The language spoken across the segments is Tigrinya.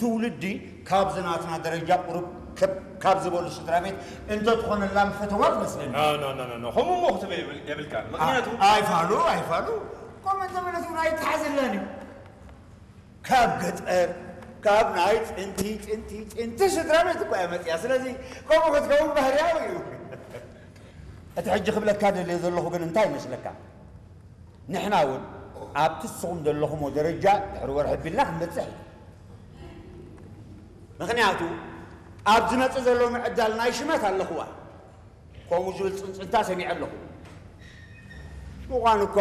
ትውልዲ ካብዚ ናትና ደረጃ ቁሩብ ከብ-፣ ካብ ዝበሉ ስድራ ቤት እንተትኾነላ ምፈተዋ ትመስለኒ። ኖ፣ ኖ፣ ኖ፣ ኖ፣ ኖ። ከምኡ እሞ ክትብል የብል-፣ የብልካን። ምኽንያቱ ኣይ-፣ ኣይፋሉ፣ ኣይፋሉ። ከምኡ እንተበለት እውን ኣይተሓዘላን እዩ። ካብ ገጠር፣ ካብ ናይ ጥንቲ፣ ጥንቲ፣ ጥንቲ ስድራ ቤት እኮ እያ መፅያ። ስለዚ ከምኡ ክትከውን ባህርያዊ እዩ። እቲ ሕጂ ክብለካ ደልየ ዘለኹ ግን እንታይ ይመስለካ? ንሕና እውን ኣብቲ ንስኹም ዘለኹሞ ደረጃ ድሕሪ ወርሒ ኣቢልና ክንበጽሕ ኢና። ምኽንያቱ ኣብ ዝመጽእ ዘሎ ምዕዳል ናይ ሽመት ኣለኹዋ። ከምኡ ዝብል ጽንጽንታ ሰሚዐ ኣለኹ። ምዃን እኳ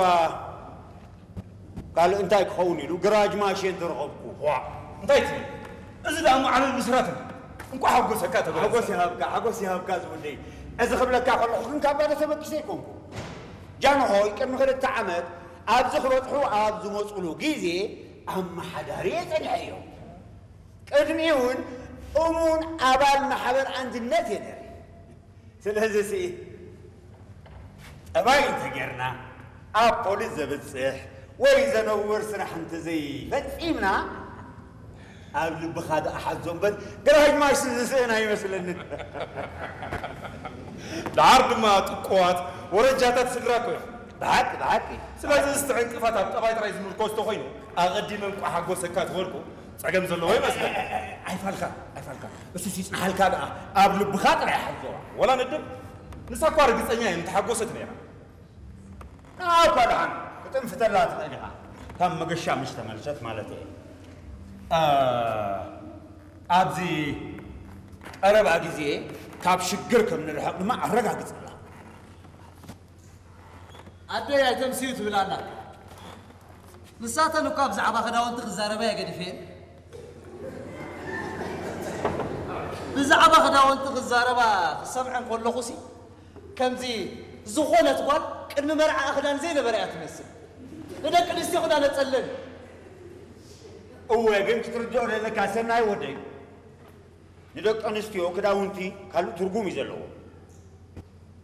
ካልእ እንታይ ክኸውን ኢሉ ግራጅ ማሽን ተረኸብኩ። ዋ፣ እንታይ ትብል? እዚ ደኣ እሞ ዓለል ብስራት እዩ። እንኳዕ ሓጎሰካ ተበለ። ሓጎስ ይሃብካ፣ ሓጎስ ይሃብካ ዝውደይ። እዚ ክብለካ ከለኹ ግን ካብ ባዶ ተበጊሰ ኣይኮንኩ። ጃንሆይ ቅድሚ ክልተ ዓመት ኣብዚ ክበጽሑ ኣብ ዝመጹሉ ግዜ ኣመሓዳሪ እየ ጸኒሐ እዮም። ቅድሚኡ እውን እሙን ኣባል ማሕበር ኣንድነት እየ ነይረ። ስለዚ ሲ ጠባይ እንተጌርና ኣብ ፖሊስ ዘብጽሕ ወይ ዘነውር ስራሕ እንተዘይፈጺምና ኣብ ልብኻ ደኣ ሓዞ እምበር ግራጅ ማሽን ዝስእን ኣይመስለንን። ደሓር ድማ ጥቁዋት ወረጃታት ስድራ እኮ እዮም። ብሓቂ፣ ብሓቂ። ስለዚ እስቲ ዕንቅፋት ኣብ ጠባይ ጥራይ ዝምርኮስ ተኾይኑ ኣቐዲመ እንቋዕ ሓጎሰካ ዝበልኩ ጸገም ዘለዎ ይመስለኒ። ኣይፋልካ፣ ኣይፋልካ። እሱስ ይጽንሓልካ ደኣ፣ ኣብ ልብኻ ጥራይ ሓዞ። ወላ ንድብ፣ ንሳ እኳ ርግጸኛ እየ ምተሓጎሰት ነይራ። ንዓ እኳ ደሓን ክትንፍተላ ትኽእል ኢኻ። ካብ መገሻ ምስ ተመልሰት ማለት እየ። እ፣ ኣብዚ ቀረባ ግዜ ካብ ሽግር ከም ንርሕቕ ድማ ኣረጋግጸላ። ኣደይ ኣይተምስዩ ትብል ኣላ። ንሳተን እኳ ብዛዕባ ክዳውንቲ ክዛረባ እየ ገዲፈን። ብዛዕባ ክዳውንቲ ክዛረባ ክሰምዐን ከለኹሲ ከምዚ ዝኾነት ጓል ቅድሚ መርዓኣ ክዳን ዘይነበራ እያ ትመስል። ንደቂ ኣንስትዮ ክዳን ኣጸለን። እወ፣ ግን ክትርድኦ ዘለካ ሰናይ ወደይ፣ ንደቂ ኣንስትዮ ክዳውንቲ ካልእ ትርጉም እዩ ዘለዎ።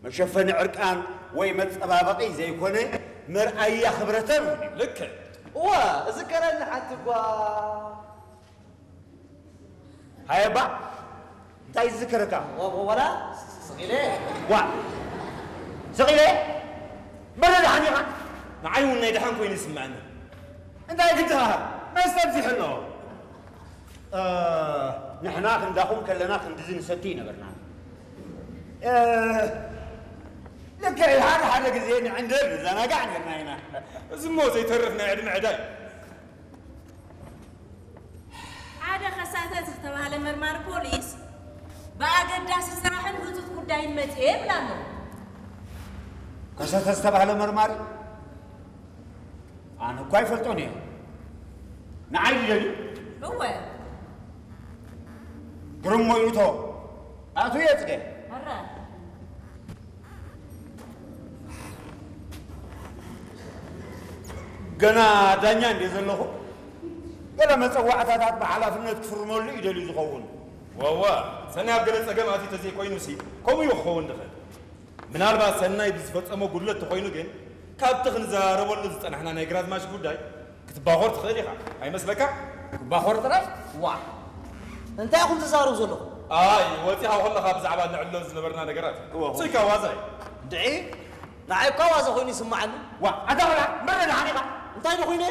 መሸፈኒ ዕርቃን ወይ መጸባበቒ ዘይኮነ መርኣያ ክብረተን እውን እዩ። ልክዕ። እዋ፣ እዝከረኒ ሓንቲ እኳ። ሃየባ፣ እንታይ ዝዝከረካ? ወ-፣ ወ-፣ ወላ ስ-፣ ስ-፣ ስቕ ኢለ። ዋ፣ ስቕ ኢለ? በለ ደሓን ኢኻ? ንዓይ እውን ናይ ደሓን ኮይኑ ይስምዐኒ። እንታይ ግድኻ? መስተ ኣብዚሑ ኣሎ። እ፣ ንሕና ክንዳኹም ከለና ክንድዚ ንሰቲ ይነበርና። እ፣ ልክዕ ሓደ ሓደ ግዜ ንዕንድር ንዘናጋዕ ነርና ኢና። እዚ እሞ ዘይተርፍ ናይ ዕድመ ዕዳ እዩ። ሓደ ከሳተ ዝተባህለ መርማሪ ፖሊስ ብኣገዳሲ ስራሕን ህጹጽ ጉዳይን መጽየ ይብል ኣሎ። ከሳተ ዝተባህለ መርማሪ? ኣነ እኳ ኣይፈልጦን እየ። ንዓይ ድደልዩ? እወ። ግርም ሞይቶ። ኣቶ የጽገ። ኣረ። ገና ዳኛ እንደ ዘለኹ፣ ገለ መጸዋዕታታት ብሓላፍነት ክፍርመሉ ይደልዩ ዝኸውን። ዋዋ፣ ሰናይ ኣብ ገለ ጸገም ኣትዩ ተዘይኮይኑሲ፣ ከምኡ እዩ ክኸውን ዝኽእል። ምናልባት ሰናይ ብዝፈጸሞ ጉድለት ተኾይኑ ግን፣ ካብቲ ክንዘራረበሉ ዝጸናሕና ናይ ግራዝማች ጉዳይ ክትባኾር ትኽእል ኢኻ። ኣይመስለካ? ክባኾር ጥራይ? ዋ! እንታይ ኢኹም ትዛረቡ ዘለኹም? ኣይ፣ ወጺኻ ከለኻ ብዛዕባ ነዕልሎ ዝነበርና ነገራት። እወ። ስኢካ ዋዛ እዩ። ድዒ? ንዓይ እኳ ዋዛ ኮይኑ ይስምዓኒ። ዋ፣ ኣታ ቆልዓ፣ መረ ደሓን ኢኻ? እንታይ ዶ ኮይነ?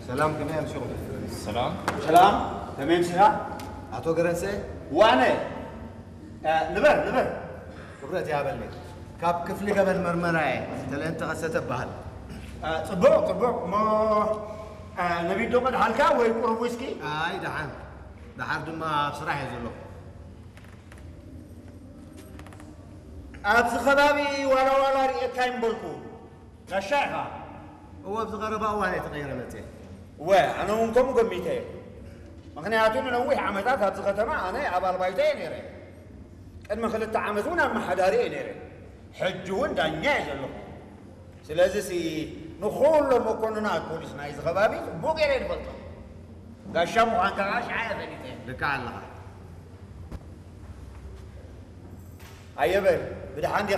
ሰላም፣ ከመይ ኣምሲኹም? ሰላም። ሰላም፣ ከመይ ኣምሲኻ? ኣቶ ገረንሰ? ዋነ። እ፣ ንበር፣ ንበር። ክብረት ይሃበለይ። ካብ ክፍሊ ገበን መርመራ እየ። ተለንተ ከሰተ እበሃል። እ፣ ጽቡቕ፣ ጽቡቕ። እሞ፣ እ፣ ነቢት ዶ ቀድሓልካ ወይ ቁሩብ ዊስኪ? ኣይ፣ ደሓን። ደሓር ድማ ኣብ ስራሕ እየ ዘለኹ። ኣብዚ ከባቢ ዋላ ዋላ ርእየካ ይምበልኩ። ጋሻ ኢኻ። እወ፣ ኣብዚ ቀረባ እዋን እየ ተቐይረ መፅየ። እወ፣ ኣነ እውን ከምኡ ገሚተ እየ። ምኽንያቱ ንነዊሕ ዓመታት ኣብዚ ከተማ ኣነ ኣባል ባይቶ እየ ነይረ። ቅድሚ ክልተ ዓመት እውን ኣመሓዳሪ እየ ነይረ። ሕጂ እውን ዳኛ እየ ዘለኹ። ስለዚሲ ንኹሎም መኮንናት ፖሊስ ናይዚ ከባቢ ጽቡቕ ገይረ እየ ዝፈልጦም። ጋሻ ምዃንካ ከዓ ሽዓ እየ ፈሊጠ። ልክዕ ኣለኻ። ኣየበል፣ ብደሓን ዲኻ?